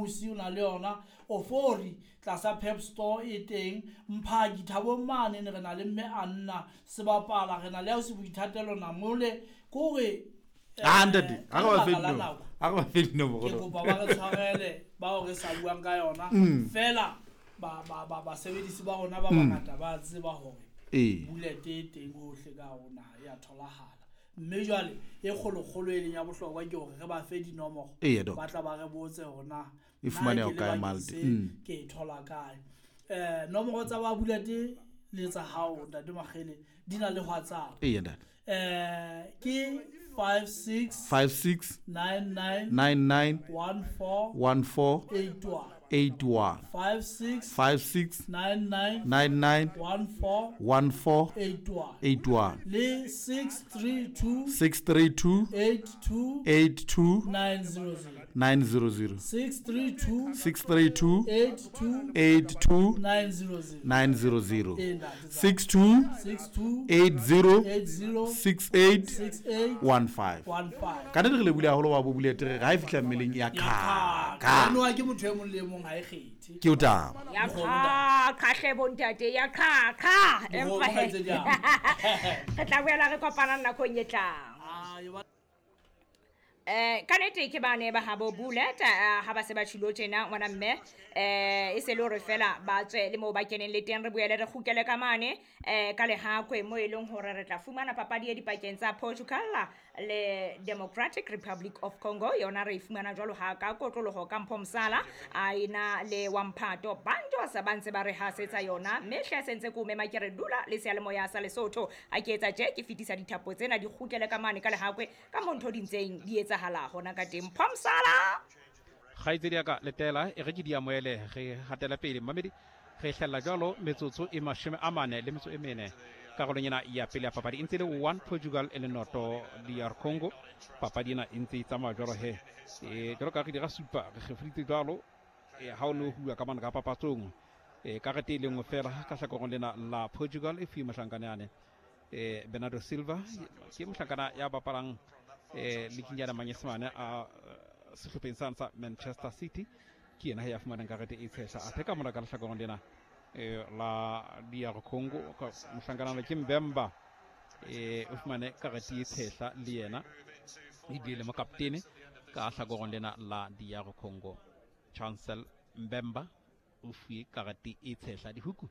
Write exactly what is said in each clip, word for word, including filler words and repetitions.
Musi o na le yona Ofori tlasa Pep Store e teng Mphaki Thabong mane ne re na le mme Anna Sebapala re na le ausi Boithatelo Namole kore ah ntate a re ba fe dino a re ba fe dino ke kopa ba re tshwarele bao re sa buang ka yona fela ba ba ba basebedisi ba rona ba bangata ba tseba hore bullet e teng hohle ka rona ya tholahala mme jwale e kgolokgolo e leng ya bohlokwa ke hore re ba fe dinomoro ba tla ba re botse hore e fumaneha kae Malte ke e thola kae. Eh nomoro tsa ba bullet le tsa hao ntate Makgele di na le WhatsApp. Eya ntate. Eh ke five six five six nine nine nine nine one four one four eight one eight one five six five six nine nine nine nine one four one four eight one eight one le six three two six three two eight two eight two nine zero zero nine zero zero six three two six three two eight two eight two nine zero zero nine zero zero six two six two eight zero eight zero six eight six eight one five one five. Ka nete re le bule haholo wa bo bulete re ha e fihla mmeleng ya kha ka no ke motho e mong le mong ha e kgethe ke o taba ya kha khahle bontate ya kha kha empa re tla boela re kopana nakong e tlang. Eh ka nete ke bane ba habo bullet ha ba se ba tshilo tjena ngwana mme eh e se le hore fela ba tswe le mo ba keneng le teng re boele re kgukele ka mane eh ka lehakwe mo e leng hore re tla fumana papadi e dipakeng tsa Portugal le Democratic Republic of Congo yona re e fumana jwalo ha ka kotloloho ka Mpho Mosala a ena le Wamphato banjo sa ba ntse ba re hasetsa yona mme hle sentse ko mema ke re dula le seyalemoya sa Lesotho a ke etsa tje ke fetisa dithapo tsena di kgukele ka mane ka lehakwe ka mo ntho di ntseng di etsa hala hona ka teng Mpho Mosala kgaitsedi ya ka letela e re ke di amohele re hatela pele mamedi re hlella jwalo metsotso e mashome a mane le metso e mene karolong ena ya pele ya papadi e ntse le one Portugal e le noto D R Congo papadi ena e ntse e tsamaya jwalo he e jwalo ka re dira supa re kgefeditse jwalo e ha o no huwa ka mane ka papatsong e karete e le nngwe fela ka hlakoreng lena la Portugal e fuwe mohlankana yane e Bernardo Silva ke mohlankana ya bapalang eh likinyana manyesemane a sehlopheng sa sa Manchester City ke yena ya fumanang karete e tshehla athe ka mora ka lehlakoreng lena eh la D R Congo mohlankana le ke Mbemba eh o fumane karete e tshehla le yena ebile le mokaptene ka hlakoreng lena la D R Congo Chancel Mbemba o fuwe karete e tshehla dihuku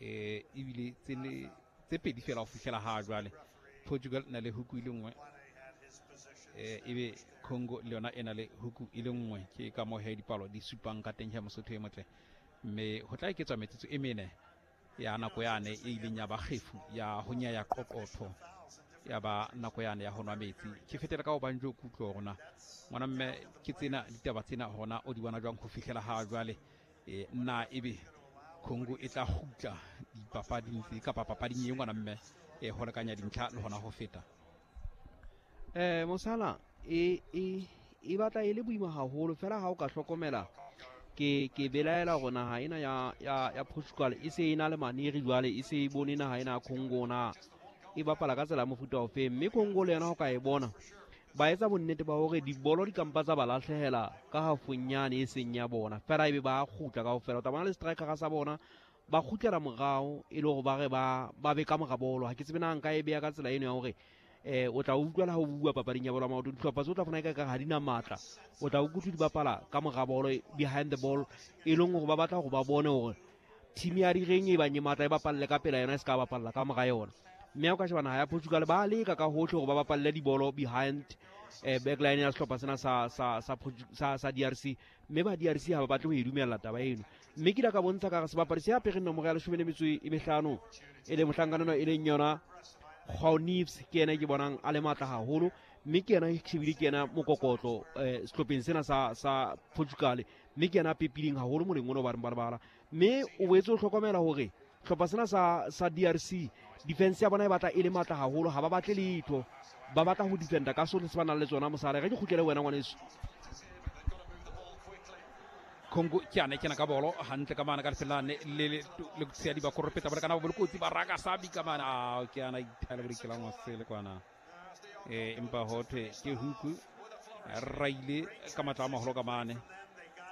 eh ebile tse le tse pedi fela ho fihlela ha jwale Portugal na le huku ile nngwe eh ebe Congo le yona e na le huku e le nngwe ke ka mo he dipalo di supang ka teng ya Mosotho e motle mme ho tla eketswa metsotso e mene ya nako yane e ileng ya ba kgefu ya ho nya ya qoqotho ya ba nako yane ya ho nwa metsi ke fetela ka ho banjo kutlo rona ngwana mme ke tsena ditaba tsena hona o di bona jwang ho fihlela ha jwale e na ebe Congo e tla kgutla dipapading tse kapa papading e ngwana mme e ho lekanya dintlha le hona ho feta. Eh Mosala e e e batla e le boima haholo fela ha o ka hlokomela ke ke belaela hore naha ena ya ya ya Portugal e se e na le maneri jwale e se e bone naha ena ya Congo na e bapala ka tsela mofuta ofe mme Congo le yona ho ka e bona ba etsa bonnete ba hore dibolo di kampa tsa ba lahlehela ka hafonyane e seng ya bona fela ebe ba kgutla kaofela o tla bona le striker sa bona ba kgutlela morao e le hore ba re ba ba be ka mora bolo ha ke tsebe na nka e beya ka tsela eno ya hore eh o tla utlwela ha o bua papading ya bolo ya maoto dihlopha tse o tla fona ka ka ha di na matla o tla utlwa di bapala ka mora bolo behind the ball e leng hore ba batla hore ba bone hore team ya direng e bang e matla e bapalle ka pela yona e se ka bapalla ka mora yona mme o ka sheba naha ya Portugal ba leka ka hohle hore ba bapalle dibolo behind eh backline ya sehlopha sena sa sa sa sa sa D R C mme ba D R C ha ba batle ho e dumella taba eno mme ke ile ka bontsha ka re sebapadi se apereng nomoro ya leshome le metso e mehlano e le mohlankana e leng yona João Neves ke yena ke bonang a le matla haholo mme ke yena shebile ke yena mokokotlo eh sehlopheng sena sa sa Portugal mme ke yena a pepileng haholo moleng ono ba reng ba lebala mme o boetse o hlokomela hore hlopha sena sa sa D R C defense ya bona e batla e le matla haholo ha ba batle letho ba batla ho defenda ka sohle se ba nang le tsona mosala re ke kgutlele wena ngwaneso. Congo ke ane kena ka bolo hantle ka mana ka lefelane le le tshia di ba koropeta ba kana ba bolokotsi ba raka sabi ka mana a ke ana ithale bodikelang wa sele kwana eh empa ho thwe ke huku raile ka matla a maholo ka mane